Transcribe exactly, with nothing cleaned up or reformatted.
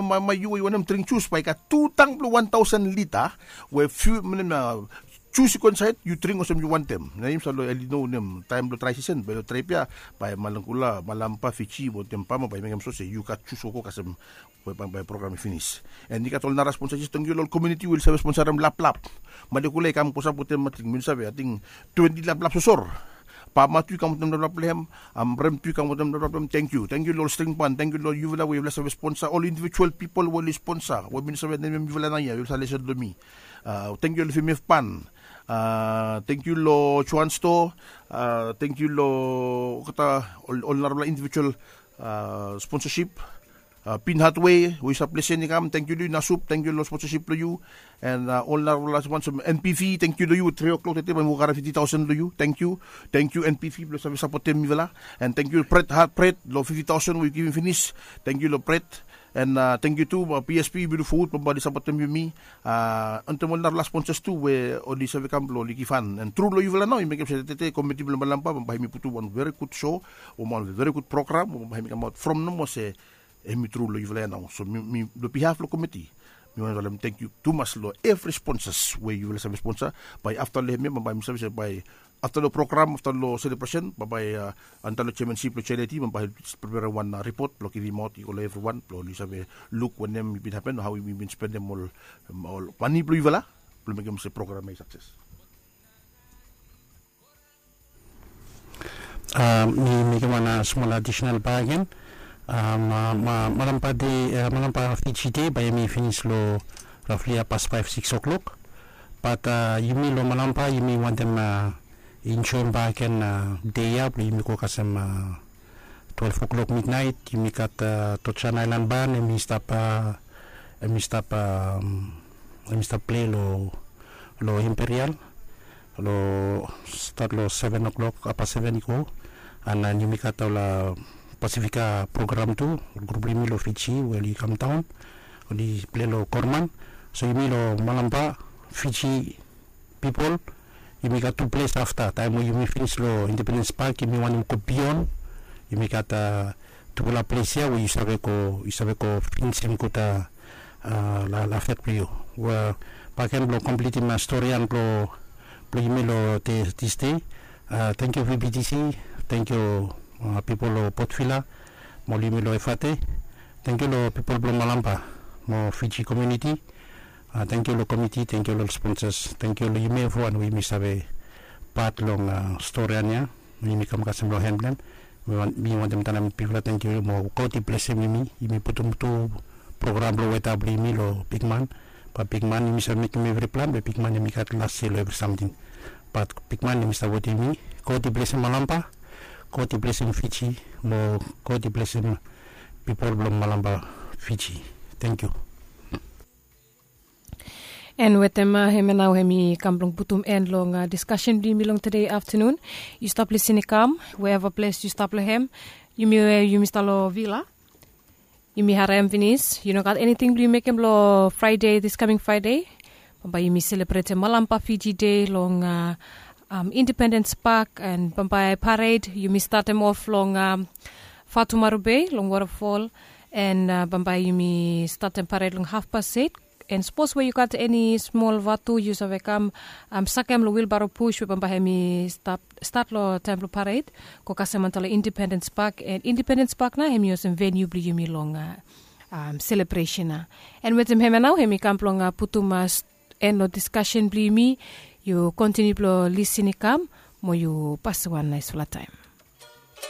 Mai mai yu we yu wantem dring jus bae i gat tu tang blong wan taosen lita we fiu minit na jus i go insaed, yu dring olsem yu wantem. Na yumi save long eli no nem taem blong drae sisen bae long drae pia, bae malangkula malampa fiji wantem pama bae i mekem so se yu gat jus wokok kasem we bae program i finis. An i gat ol nara sponsa jes tangkiu long ol komiuniti we oli save sponsarim laplap. Malekula i kam kosap wetem ating mi no save ating twenti laplap sosor. Pama tu i kam wetem laplap blong hem. Amrem tu i kam wetem laplap blong hem. Tangkiu tangkiu long ol string ban, tangkiu long yufala we yufala save sponsa ol indivijual pipol we oli sponsa we mi no save nemem yufala nao ya yufala save lesen long mi. Tangkiu long fimef ban. Tangkiu long joan sto. Tangkiu long olgeta ol narafala indivijual sponsasip. Bin hatwe we yu stap lesen i kam tangkiu long yu nasup tangkiu long sponsasip blong yu. An ol narafala sponsasip npv tangkiu long yu we tri o'klok tete bae mi go karem fifti taosen long yu. Tangkiu tangkiu npv blong save sapotem mifala. An tangkiu bret hat bret long fifti taosen we yu givim finis. Tangkiu long bret. An tangkiu tu bsp yumi luk fowod bambae oli sapotem yumi. Wantem ol narafala sponsas tu we oli save kam blong oli givhan an tru long yufala nao i mekem se tete komiti blong malampa bambae hemi putum wan veri gud so, wan veri gud program bambae hemi kamaot from nomo se hemi tru long yufala ya nao. So mi long bihaf blong komiti mi wantem talem tangkiu tumas long evri sponsas we yufala save sponsa. Bae afta long hemia bambae mi save se bae afta long program afta long selebresen bambae antalo jeamensip blong jlt bambae hemi preperem wan ripot blong givimaot i go long evriwan blong oli save luk wanem i bin hapen o hao yumi bin spendem ol mani blong yufala blong mekem se program ya i sakses. Mi mekem wan smol adisinal bagen. Malampa de malampa fiji de bae yumi finis long rafli ya pas faef sikis o'klok. Bat yumi long malampa yumi wantem enjoem bagen de ya blong yumi go kasem twelef o'klok midnaet yumi gat tojan aelan ban em i stap em i stap em i stap plei long imperial long stat long seven o'klok apa seven i go. An yumi gat ol pasifika program tu ol grup blong yumi long fiji we oli kamdaon oli plei long korman. So yumi long malampa fiji pipol yumi gat tu ples afta taem we yumi finis long independens pak yumi wantem go bion. Yumi gat tufala ples ya we yu save go yu save go finisim gud lafet blong yu. Baken blong komplitim storian blong yumi long disde. Tangkiu vbtc. Tangkiu pipol long potvila mo ol yumi long efate. Tangkiu long pipol blong malampa mo fiji komiuniti. Tangkiu long komiti tangkiu long ol sponsas tangkiu long yumi evriwan we yumi save pat long storian ya. Yumi kam kasem long hen blong hem mi wantem talem bigfala tangkiu mo god i blesem yumi. Yumi putum tu program blong weta blong yumi long bigman. Bat bigman yumi save mekem evri plan be bigman yumi gat las se long evri samting. Bat bigman yumi stap wetem yumi. God i blesem malampa. God i blesem fiji mo god i blesem pipol blong malampa fiji. Tangkiu. An wetem hemia nao hemi kam blong putum en long diskasen blong yumi long tede aftanun. Yu stap lisin i kam we eva ples yu stap long hem. Yumi we yumi stap long vila yumi harem finis yu no gat eniting blong yu mekem long fraede diskaming fraede. Bambae yumi selebretem malampa fiji de long independens pak an bambae pared yumi statem of long fatumaru bei long wotafol. An bambae yumi statem pared long hafpas set. An sapos we yu gat eni smol vatu yu save kam sakem long wilbaro pus we bambae hemi stat long taem blong pared go kasem antalo independens pak an independens pak nao hemi olsem veniu blong yumi long selebresen nao. An wetem hemia nao hemi kam blong putum en long diskasen blong yumi. Yu kontiniu blong lisin i kam mo yu pasim wan naesfala taem.